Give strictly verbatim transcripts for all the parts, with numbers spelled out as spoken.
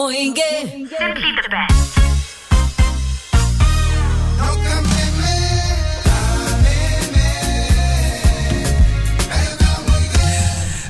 Simply the best.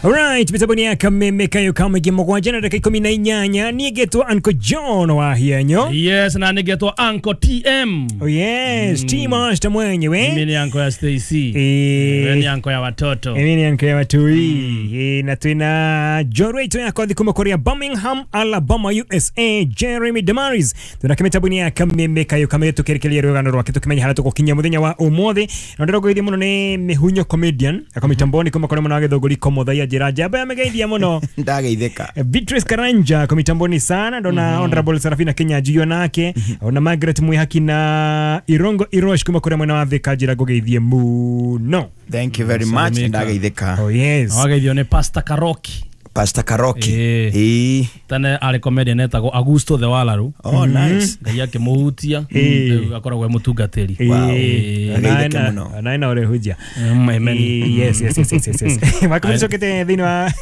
Alright, mitaboni ya kameme kayo kamege mugwanja na dakika ikumi na inyanya nigetwo Uncle John wa hianyo. Yes, na nigetwo Uncle T M. Oh yes, mm. T Master mwenyewe. Mimi ni uncle ya Stacy. Eh, ni uncle ya watoto. Mimi ni uncle ya watoi. Eh, na twina Jorwe to yako kuma Korea Birmingham, Alabama, U S A, Jeremy Damaris. Tuna kamitaboni ya kameme kayo kamege tukerekeria rugano rwake tukimenya hara tugukinya muthenya wa umuthi. Na ndirogithia muno ni Mihunyo comedian akomitamboni kuma Korea muno githunguri komothaia Jamba ya megeithia muno ndageithika. Beatrice Karanja komitamboni sana ndona. mm -hmm. Honorable Sarafina Kenya Juyo nake. mm -hmm. Ona Margaret Mwihaki na Irongo Irosh kuma kuria mwena wa Thika njira ngugeithie muno. Thank you very much ndageithika. Oh yes, wageithio ni Pastor Karoki. Pastor Karoki. Eh. Tene ari comedian etagwo Augusto the Walaru. Oh nice. Ngai akimuhutia akoragwo e mutungatiri. Wow. Na na ore hujia. Yes yes yes yes yes. Makumcokete thini wa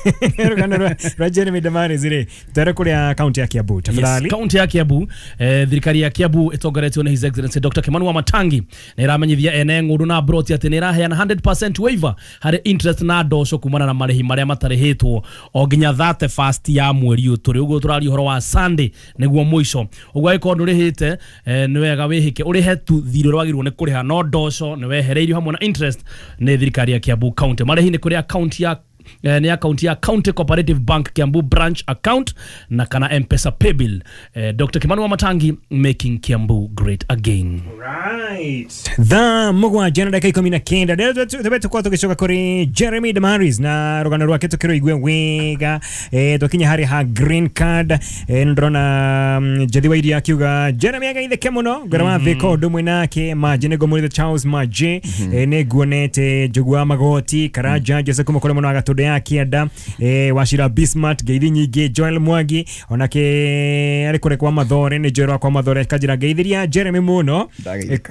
rugano rwa Jeremy Damaris ri. Twere kuria county ya Kiambu. Tafadhali. County ya Kiambu, eh thirikari ya Kiambu itongoretio ni His Excellency Doctor Kimani Wamatangi na iramenyithia ene ng'undu na broti ati ni iraheana one hundred percent waiver hari interest na ndoco kumana na marihi maria matarihitwo nginya thate fast ya mweri turi uguo turari uhoro wa Sunday niguo muico uguo angĩkorwo ndũrĩhĩte nĩ wega wĩhĩke ũrĩhe tu thirĩ ũrĩa wagĩrĩirwo nĩ kũrĩha no ndoco nĩ wehereirio hamwe na interest nĩ thirikari ya Kiambu County. Marĩhi nĩ kũrĩ account ya eh, ni account ya County Cooperative Bank Kiambu branch account na kana M-Pesa paybill. eh, Doctor Kimani Wamatangi, making Kiambu great again. Right. Thaa mugwanja na dakika ikumi na kenda tebe tukorwo tugicoka kuri Jeremy Damaris na rugano rwake tukiruigue wega. eh, twakinya hari ha green card. eh, ndrona Njethi wa Iria akiuga Jeremy agaitheke muno ngora wa Thika undu mwe nake Maje nĩguo mũrĩthe Charles Maje. eh, nĩnguonete Njogu wa Magoti Karanja Jose kuma kũrĩ mũno agatundu ya kienda. eh, Wachira Bismarck ngeithi nyingĩ Joel Mwangi onake ari kũrĩ kwa Mathore nĩ Joel kwa Mathore kanjira ngeithiria Jeremy muno.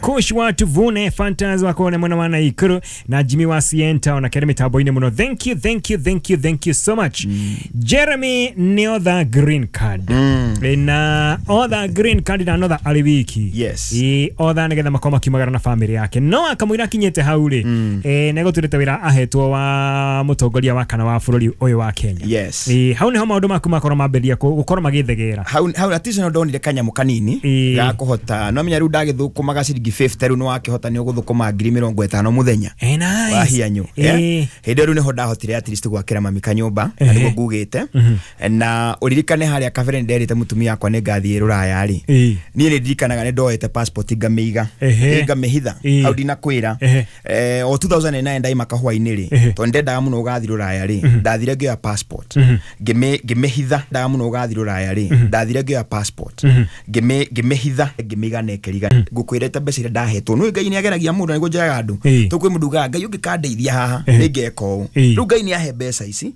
Coach wa Tuvune Fantas wa kone mwana wa Naikuru na Jimmy wa Sienta onake ari mitambo-inĩ muno. Thank you thank you thank you thank you so much. mm. Jeremy nĩ other green card. mm. Na other green card na another ari wiki. Yes. I other nigetha makorwo makiumagara na family yake no akamwira akinyĩte hau rĩ. mm. eh negũtuĩte wĩra ahetwo wa mũtongoria wa kana wa bũrũri ũyũ wa Kenya. Yes. Eh hau niho maũndũ maku makorwo mambĩrĩria gũkorwo magĩthegera. Hau hau atisa no ndonire kanyamũ kanini ga kũhota no menya rĩu ndagĩthũkũmaga ciringi fifty rĩu nĩ wakĩhota nĩ ũgũthũkũma ngiri mĩrongo ĩtano mũthenya. Eh nice. Wa hianyu. Hĩndĩ rĩu nĩho ndahotire at least gwakĩra mami kanyũmba na nĩguo ngugĩte. Na ũririkane harĩa kabere nderĩte mũtumia wakwa nĩ ngathiĩ rũraya rĩ. Niĩ nĩ ndirikanaga nĩ ndoete passport ngamĩiga ngamĩhitha hau ndinakwĩra. Eh o two thousand nine ndaima kahũa-inĩ rĩ tondũ ndendaga mũno gũgathiĩ rũraya rĩ ndathire ngĩoya passport ngĩmĩhitha ndaga mũno gũgathiĩ rũraya rĩ ndathire ngĩoya passport ngĩmĩhitha ngĩmĩiga nekeriga ngũkwĩrĩte mbeca iria ndahetwo nĩ Ngai nĩ ageragia mũndũ nĩguo njĩraga andũ tũkwĩ mũndũ ugaga Ngai ũngĩkandeithia haha nĩ ngeka ũũ rĩu Ngai nĩ ahe mbeca ici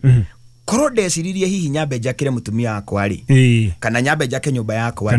korwo ndeciririe hihi nyambe njakĩre mũtumia wakwa rĩ kana nyambe njake nyũmba yakwa.